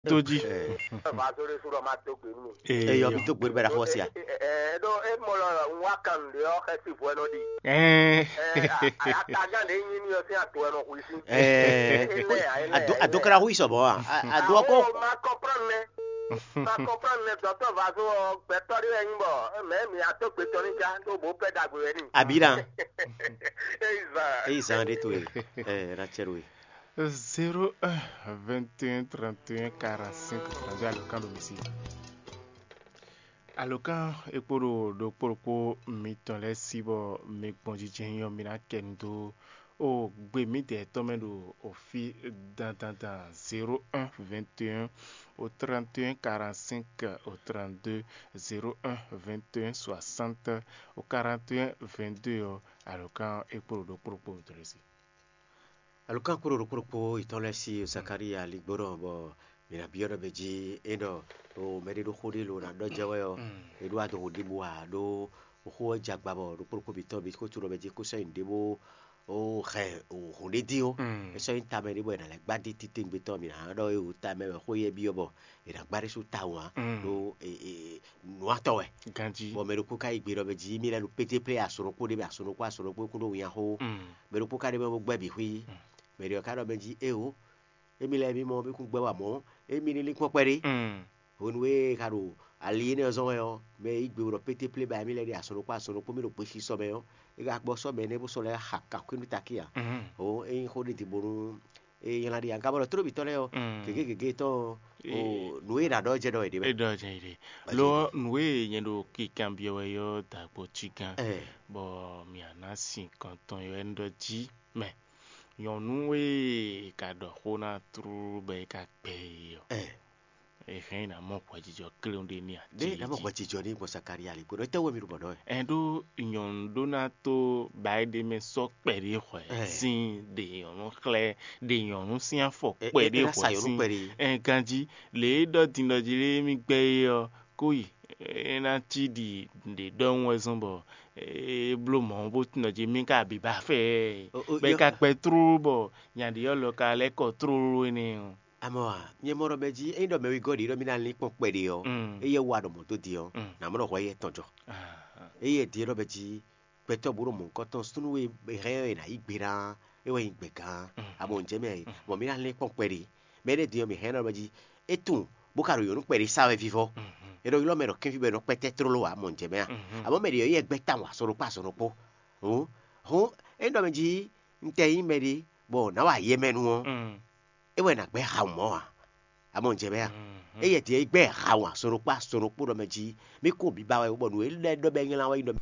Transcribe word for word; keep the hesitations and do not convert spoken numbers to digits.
Tó jí. Ɛ, Vazore su ɖɔ ma dó gbe nú mi. Eyɔ, mi tó gbe bɛ ɖaxó sia. Ɛ, ɛ, ɖó e mɔ lɔ un wá kan nǔɖé ɔ́, xɛsi vɔ nɔ ɖi. Ɛɛ. Ɛ, a- a- Atagan ɖe nyi mi ɔ́ sín ato ɛ nɔ xwisi. Ɛ, Ele a, ele a, ado ele a. Ado kra hui sɔbɔ a. A- ado ɔkɔ. Awo, ma comprendre nɛ. Ma comprendre nɛ, dɔtɔ Vazo ɔ, gbɛtɔ ɖe wɛ nyi bɔ mɛ mi ato gbetɔ ni ja ɖó bo pɛ dagbe wɛ ni. Abira. Eyi zan. Eyi zan ɖe to ye. Ɛ, na cɛ ɖo ye. Zéro un, vingt et un, trente et un, quarante-cinq, trente-deux, alɔkan ɖo misi. Alɔkan e kpo ɖo ɖokpó ɖokpó mitɔn lɛ́ɛ sí bɔ mi gbɔn jijɛ nyɔ mi ná kɛ nu dó o gbe mǐdɛɛ tɔn mɛ ɖo o fí dandandan. Zéro un, vingt et un, au trente et un, quarante-cinq, au trente-deux, zéro un, vingt et un, soixante, au quarante et un, vingt-deux ɔ́, alɔkan e kpo ɖo ɖokpó ɖokpó mitɔn lɛ́ɛ sí. Alukán kpóɖo ɖokpó ɖokpó yětɔn lɛ́ɛ sí Zakalía ligbóɖɔ bɔ mǐ ná byɔ́ ɖɔ mɛ jí é ɖɔ o mɛɖé ɖó xó ɖé lo ná ɖɔ jɛ wɛ ɔ́, é ɖó adoxo ɖěbǔ ǎ, ɖó xó ɔ́ jɛ agba bɔ ɖokpó ɖokpó mǐtɔn bǐ xó tunɔ mɛ jí kó sɔ́ nyi nǔɖé bó hɛn hǔn ɖé dín ó. É sɔ́ nyí tamɛ ɖé bɔ è nǎ lɛ́ gbá dí titewungbe tɔn mǐ ná ɖɔ é wǔ tamɛ wɛ xó éyɛ́ byɔ́ bɔ è nǎ gbá ɖésú tawun ǎ, ɖó nǔwatɔ́ wɛ. Ganjí. Bɔ mɛ ɖokpó ka yi gbe ɖɔ mɛ jí mí lɛ́ ɖo pété plé asɔnukpó ɖé mɛ asɔnukpó asɔnukpó kún ɖó winnyá xó. Mɛ ɖokpó ka ɖe mɛ bó gbɛ́ bǐ xwí. Mɛ ɖě ɔ́ ka ɖɔ mɛ jí éwo, émí lɛ́ɛ mí mɔ mí kún gbɛ́ wa mɔ̌, émí ní lín kpɔ́n kpɛɖé. Hwenu e ka ɖo ali énɛ́ ɔ́ zɔ́n wɛ ɔ́, mɛ e yí gbe ɖɔ pété plé ba émí lɛ́ɛ ɖe asɔnukpó asɔnukpó mí ɖo gbesisɔ mɛ ɔ́, é ka gbɔ sɔ́ mɛ énɛ́ bó sɔ́ lɛ́ xa kakú nú takí ǎ. Hɔn é nyí xó ɖé din bónú é nylá ɖi ǎ. Gabɔ ɖɔ tlóbitɔ́ lɛ́ɛ ɔ́, gěgé gěgé tɔn ɔ́, nǔ e è nǎ ɖɔ jɛ ɖɔ è ɖe wɛ. É ɖɔ jɛ ɖe. Lo ɔ́, nǔ e nyɛ ɖo kikanbyɔ́ wɛ ɔ́ da gbo cí gán, bɔ mǐ ná sin kɔntɔn ɔ́ wɛ un ɖɔ jí mɛ. Nyɔ̌nu e è ka ɖɔ xó ná tlú bɔ é ka gbɛ é ɔ́, è hɛn ná mɔ hwɛjijɔ kléwún ɖé n'i a? Ɖé ná mɔ hwɛjijɔ ní gbɔn Sakaria lě kpódó étɛ́ wɛ mi ɖo bɔ ɖɔ wɛ? Ɛn ɖó nyɔ̌nu ɖó ná tó ba é ɖé mɛ sɔ́ kpɛɖé hwɛ sín ɖe nyɔ̌nu xlɛ́, ɖe nyɔ̌nu sín afɔ kpɛɖé hwɛ sín. Ɛn ganjí lě e ɖɔ din ɖɔ jí lé mí gbɛ́ é ɔ́, kó yi é ná cí ɖi ɖě ɖɔhun wɛ zɔ́n bɔ é bló mɔ̌ bó tunɔ jí mí ka bǐ ba fɛ bɔ é ka kpɛ tlóló bɔ nya ɖě ɔ́ lɔ ka lɛ́ kɔ tlóló énɛ́ ɔ́. Amɔ a, nyɛ mɔ ɖɔ mɛ jí ényí ɖɔ mɛ wegɔ́ ɖě ɖɔ mí ná lín kpɔ́n kpɛɖé ɔ́, éyɛ́ wá ɖɔ mɔ̌ dó din ɔ́, nǎ mɔ ɖɔ hwɛ éyɛ́ tɔn jɔ. Éyɛ́ din ɖɔ mɛ jí gbɛtɔ́ bó ɖo mɔ̌hunkɔtɔn súnnu e hɛn ɔ́ è nǎ yí gbe ná é wɛ nyí gbɛ̌gán. Amɔ un jɛ mɛ a, bɔ mí ná lín kpɔ́n kpɛɖé. Mɛ énɛ́ din ɔ́, mǐ hɛn ɔ́ mɛ jí é tunwun bó ka ɖo nyɔ̌nu kpɛɖé sa wɛ vívɔ́. É nɔ ylɔ́ mɛ ɖɔ kɛ́nfí bɔ è nɔ kpɛ́tɛ́ tlóló ǎ, mɔ un jɛ mɛ a? Amɔ̌ mɛ ɖě ɔ́ yɛ gbɛ́ tawun azɔn ɖokpó azɔn ɖokpó. Hǔn hǔn é ɖɔ mɛ jí un tɛ nyí mɛɖé bɔ nǎ wa yɛ mɛ nu ɔ́, é wɛ nǎ gbɛ́ hawun mɔ̌ ǎ. Amɔ un jɛ mɛ a? Éyɛ́ din ɔ́, é gbɛ́ hawun azɔn ɖokpó azɔn ɖokpó ɖɔ mɛ jí mí kó bǐ ba wɛ bɔ nǔ e lɛ́ ɖɔ bɔ é nylá wɛ nyí ɖɔ